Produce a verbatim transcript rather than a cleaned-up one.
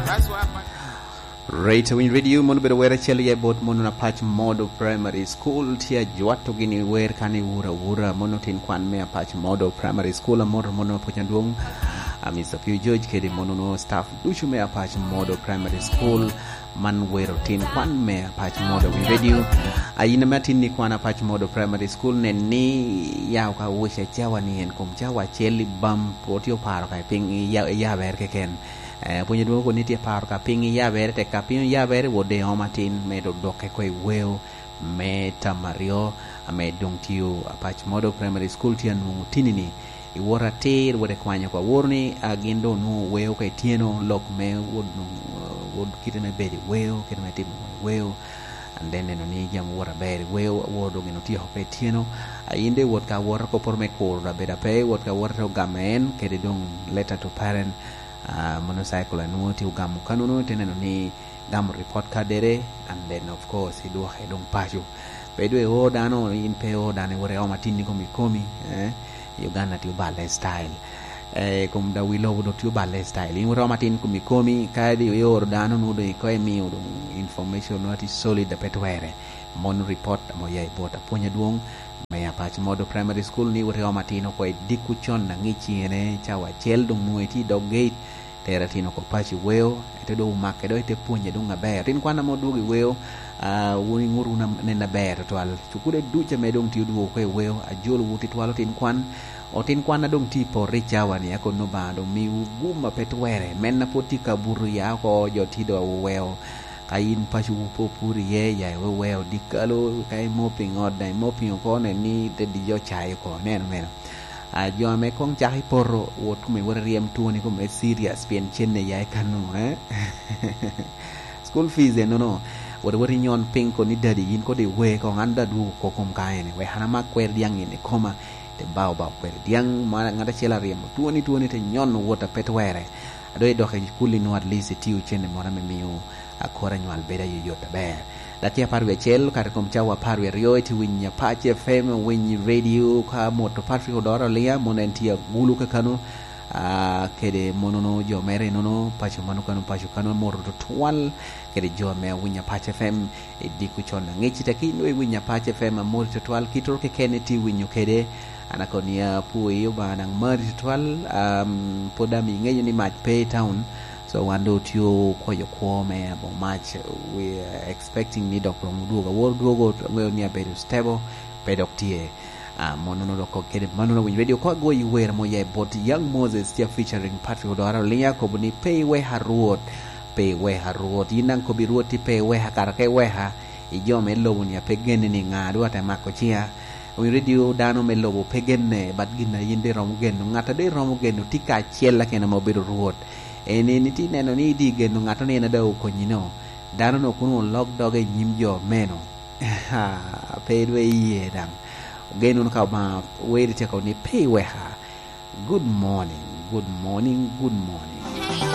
That's why I Rate Win Radio, mono bedo wer acel ya bot mono na Apac Modo Primary School, tye ajwato gini wer kan i wura wura, mono tin kwan me Apac Modo Primary School, amor mono apuc adwong, a Mister Pio George kede mono no staff ducu me Apac Modo Primary School, man wero tin kwan me Apac Modo Win Radio. A yin ame atin ni kwan Apac Modo Primary School, nen ni ya ka wuce cawa ni en kom cawa acel i bam, otio paro ka i piny i ya-, i yaber keken. Eh, pwony adwoŋ kun ni tye paro ka piny yabere, tek ka piny oyabere, wot de om atin, me dok dokke ko i weo me tam aryo, ame doŋ tio Apac Modo Primary School tye anwoŋo tini-ni. I wot atir, wot ikwanyo ka woro ni, a, gin doŋ onwoŋo weo ka ityeno, lok me wot nwoŋo, wot kite me bedo i weo, kite me timo i weo, and then neno ni jami wot aber i weo, woro doŋ gin otyeko ka ityeno. A, in de wot ka woro, kop poto me kuro da bedo ape, wot ka woro te ogamo en, kede doŋ letter to parent, ah, motorcycle a nwoŋo tye ogamo kanono, ite neno ni gamo report card-dere, and then of course idwoke doŋ paco. Pe dwe o dano, in pe o dano, iwoto iom atin i komi komi, eh? I Uganda tye oballe style. Eh, kom da wi lobo dok tye oballe style. In woto iom atin komi komi, ka di ioro dano nwoŋo doŋ ikoŋ imio doŋ information nwoŋo ati solid a pe twere. Mon report ame oya i bot apwony adwoŋ me Apac Modo Primary School ni wot iom atin oko i dikku con aŋic cene cawa acel doŋ nwoŋo itye i dog gate, tero atin oko paco i weo, ete doŋ omake dok ite pwonye doŋ aber. Otin kwan ame odwogo i weo, ah, wun iŋut wunu am-, nen aber tutwal. Cukule duc ame doŋ tye odwogo oko i weo, ajolowu tutwal otin kwan. Otin kwan a doŋ tye i poto i cawa-ni, akono Obaŋa doŋ miwu gum a pe twere. Men a pwod tye ka buto ya oko, jo tye doŋ oweo Ka yin pacowu pe opur iye, ya iweweo dikalo, ka imo piny ot, daŋ imo piny oko, nen ni te dijo ocayo oko. Ineno meno? A, jo ame koŋ cako i poto, wot kome wot iryem twoni kome serious, pien cenne ya i kano, eh? School fees ennono, wot wot inyon piny koni, "Daddy, yin kodi iwe koŋ, an daŋ adwogo oko kom ka ene, wek an amak kweri dyaŋ in i koma." Te bao bao kweri dyaŋ, ma ŋat acel aryemo twoni, twoni te nyon wot a pe twere. A doŋ idok i kuli nwoŋo at least itio cene moro ame mio a kor anywal bedo ayoyot aber. Dakika apar wie acel, kare kom cawa apar wie aryo, itye winyo Apac F M, winyo radio, ka moto Patrick Odoro Aliya, mono en tye agulu kakano, ah, kede monono jo mere nono, paco mano kano, paco kano, moto tutwal, kede jo ame winyo Apac F M, i diko con aŋic, tek in doŋ iwinyo Apac F M amoti tutwal, kit oro keken itye winyo kede, an akobo ni apwoyi, Obaŋa daŋ mari tutwal, um, pwod ame iŋeyo ni mac pe i town, so wan doŋ otye okwoyo kwo me aboŋo mac, we are expecting ni dok romo dwogo, awor dwogo, aŋeyo ni abedo stable, pe dok tye. Ah, mono dok kede mano na winyo radio ko agoyo wer mo ya i bot Young Moses tye featuring Patrick Odora Olinga, kobo ni pe iweka Rwot, pe iweka Rwot. Yin daŋ kobi Rwot ti pe iweka, kara ka iweka, i jo me lobo ni ape genne ni ŋa dwa te mako ciŋa. Winyo radio dano me lobo pe genne, but gin a yin de romo geno, ŋat a de romo geno ti ka acel akene ma obedo Rwot. En, en iti neno ni idi geno ŋat ni en ada okonyi no. Dano no kun olok doge i nyim jo meno. Pe dwe iye daŋ. Ogen wunu ka Obaŋa weri tye kobo ni pe iweka. Good morning, good morning, good morning.